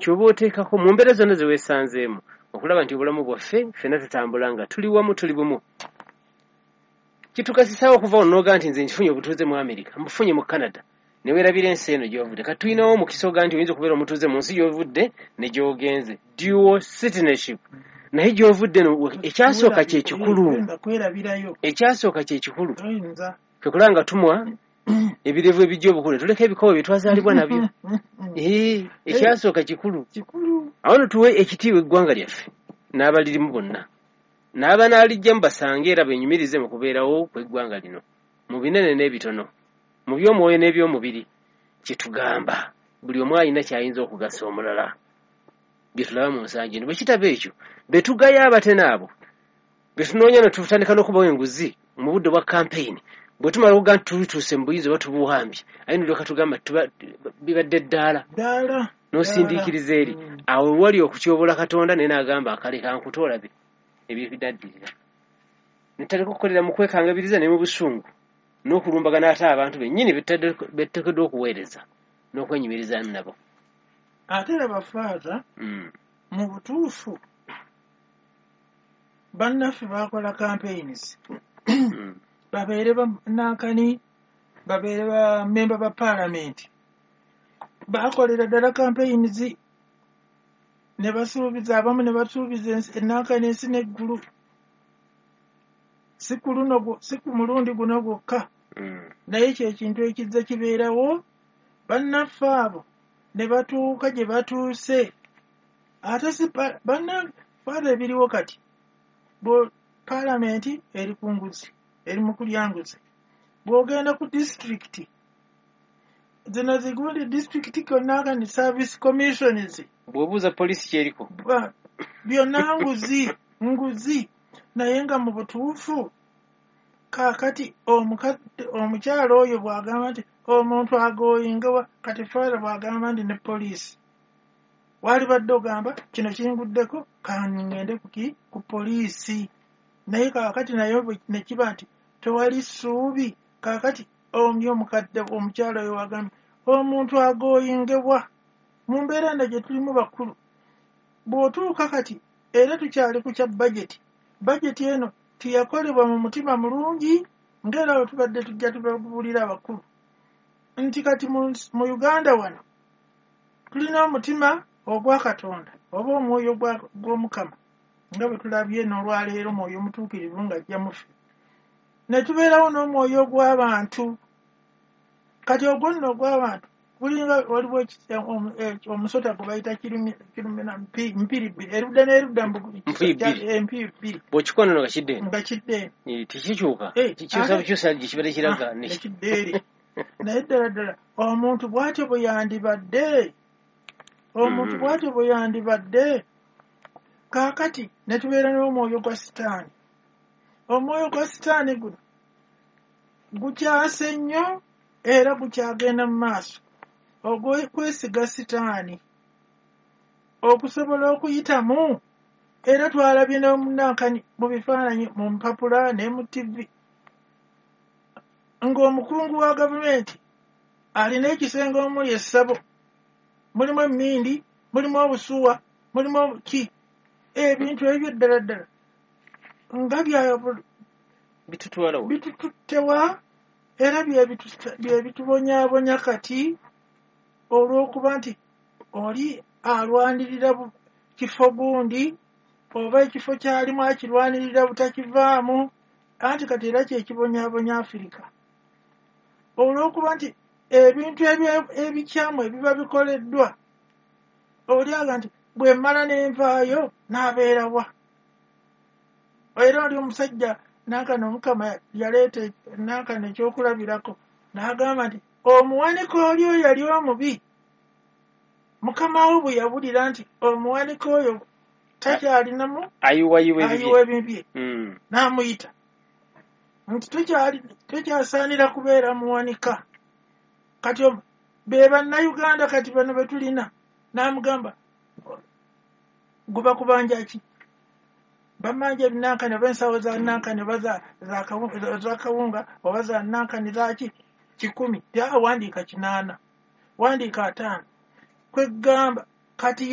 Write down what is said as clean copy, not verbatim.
Kyoba oteekako mu mbeera zonna ze weesanzeemu okulaba nti obulamu bwaffe ffenna tutambula nga tuli wamu, tuli bumu. Kitugasisaawo okuva wano n'ogaa nti nze nkifunye obutuuze mu Amerika, mbufunye mu Canada, ne weerabira ensi eno gy'ovudde. Kati tulinawo omukisa ogaa nti oyinza okubeera omutuuze mu nsi gy'ovudde ne gy'ogenze, dual citizenship, naye gy'ovudde no ekyasooka kye kikulu. Ekyasooka kye kikulu kwe kulaba nga tumwa ebirevu ebijja obukulu, tuleka ebikowe bye twazaalibwa nabyo. Ekyasooka kikulu. Awo no tuwe ekitiibwa eggwanga lyaffe n'abalirimu bonna, n'abanaalijjamu basange era benyumirize mu kubeerawo kw'eggwanga lino mu binene n'ebitono, mu by'omwoyo n'ebyomubiri. Kyetugamba buli omu alina ky'ayinza okugasa omulala, bye tulaba mu nsangi eno. Bwe kitaba ekyo, be tugaya abatene abo be tunoonya ne tutandika n'okubawa enguzi mu budde bwa kampeyini, bwe tumala okuga nti tutuuse mu buyinza oba tubuwambye, aye nolyoka tugamba bibadde ddaala n'osindiikiriza eri awo wali okutyobola Katonda, naye n'agamba akaleka nkuta olabe ebidaddirira. Netandika okukolera mu kwekangabiriza ne mu busungu n'okulumbagana ate abantu bennyini betuteekeddwa okuweereza n'okwenyumirizaamu nabo. Ate era bafaaza mu butuufu bannaffe bakola campaigns, babeere banankani, babeere bamemba ba paalamenti, bakolera ddala campaigns ne basuubiza abamu, ne basuubiza enankani ensi n'eggulu, si ku luno, si ku mulundi guno gwokka, naye kyekintu ekizza kibeerawo. Bannaffe abo ne batuuka gye batuuse, ate si bannaffe ebiriwo kati bo paalamenti eri ku nguzi, eri mu kulya nguzi. Bw'ogenda ku disitulikiti zino zigundi disitulikiti konna service commissions, bw'obuuza poliisi kyeriko byonna nguzi nguzi. Naye nga mu butuufu kaakati omukyalo oyo bw'agamba nti omuntu agoyingawa, kati faara bw'agamba nti ne poliisi, waalibadde ogamba kino kinguddeko kangende kuki ku poliisi, naye kaakati naye ne kiba nti tewali ssuubi. Kaakati oyo omukadde omukyalo oyo wagambye omuntu agoyingebwa mu mbeera eno gye tulimu bakulu. Bw'otuuka kati era tukyali ku kya bajeti, bajeti eno teyakolebwa mu mutima mulungi, ng'era bwe tubadde tujja tubabuulira abakulu nti kati mu Uganda wano tulina omutima ogwa Katonda oba omwoyo gw'Omukama, nga bwe tulabye n'olwaleero omwoyo omutuukirivu ng'ajja muffe, ne tubeerawo n'omwoyo ogw'abantu. Kati ogwo nno ogw'abantu gulinga waliwo omusota gwe bayita kirumira mpiri bbiri, erudda n'erudda empiiri bbiri, bw'okikoona nga kidde eno, nga kidde eno, tekikyuka, kikyusa bukyusa gye kibadde kiraga nekidda eri. Naye ddala ddala omuntu bw'atyo bwe yandibadde, omuntu bw'atyo bwe yandibadde. Kaakati ne tubeera n'omwoyo gwa Sitaani. Omwoyo gwa Sitaani guno gukyase nnyo era gukyagenda mu maaso, ogw'okwesiga Sitaani okusobola okuyitamu. Era twalabye n'omunankani mu bifaananyi mu mpapula ne mu TV ng'omukungu wa gavumenti alina ekisenge omuli essabo, mulimu emmindi, mulimu obusuwa, mulimu ki, ebintu ebyo ddala ddala nga bitututtewa, era bye bitubonyaabonya kati olw'okuba nti oli alwanirira kifo gundi oba ekifo kyalimu akirwanirira butakivaamu. Anti kati era kyekibonyaabonya Afirika olw'okuba nti ebintu ebikyamu ebiba bikoleddwa, oli aga nti bwe mmala n'envaayo n'abeerawa. Era oli omusajja nankano Omukama yaleeta nankano ekyokulabirako n'agamba nti omuwanika oli oyo yali omubi, mukama we bwe yawulira nti omuwanika oyo takyalinamu ayiwayiwa ebibye, n'amuyita nti tokyasaanira kubeera muwanika. Kati be bannayuganda kati bano be tulina, n'amugamba guba kubanja ki, bamanja ebinankani oba ensawo za nankani oba za kawunga oba za nankani zaki 100, wandiika 8, wandiika 5. Kwegamba kati